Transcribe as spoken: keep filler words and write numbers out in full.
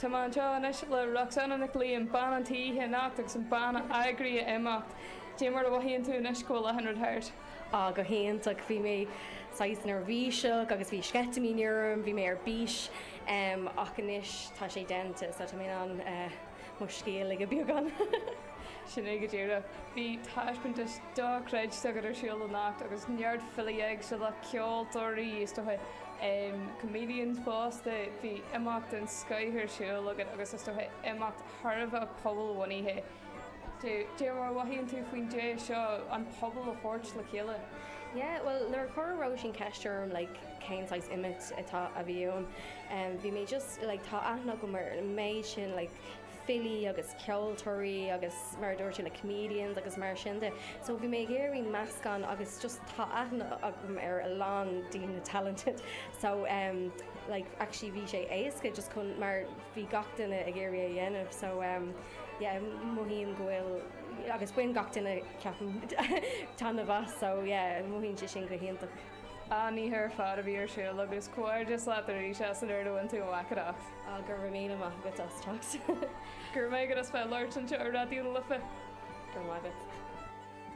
Tá mé anseo anois le Roxanna Nic Liam bean an tí anocht agus an bean a d'eagraigh an imeacht. Cad é mar a mhothaíonn tú anois go bhfuil an rud thart. Á go hiontach bhí mé saghas neirbhíseach agus bhí sceitimíní orm, bhí mé ar bís um, ach anois tá sé déanta so tá mé an uh, mo scíth a ligean beagán. Sin é go díreach. Bhí taispeántas dochreidte agat ar siúl anocht agus neart filí éagsúla ceoltóirí is dócha um, comedians fosta bhí imeacht den scoth ar siúl agat agus is dócha imeacht thar a bheith pobalbhunaithe. Cad é mar a mhothaíonn tú faoin dé seo an pobal a thabhairt le chéile. Yeah, well nuair a chuir Róisín ceist orm like, cén saghas imeacht atá a bhí ann. Um, bhí mé just like, tá aithne agam ar an méid sin like, filí agus ceoltóirí agus mar dúirt le comedians agus mar sin de. So bhí mé ag iarraidh meascán agus just tá aithne agam ar a lán daoine talented. So um, like, actually bhí sé éasca just chun mar bhí gach duine ag iarraidh a dhéanamh so um, yeah, mothaím go bhfuil agus bhain gach duine ceapaim taitneamh as so yeah, mothaíonn sé sin go hiontach. An-oíche ar fad a bhí ar siúl agus comhghairdeas leat arís as an obair a bhain tú amach. Á go raibh míle maith agat as teacht. Gur mé go bheith labhairt anseo ar Raidió na Life. Gur maith.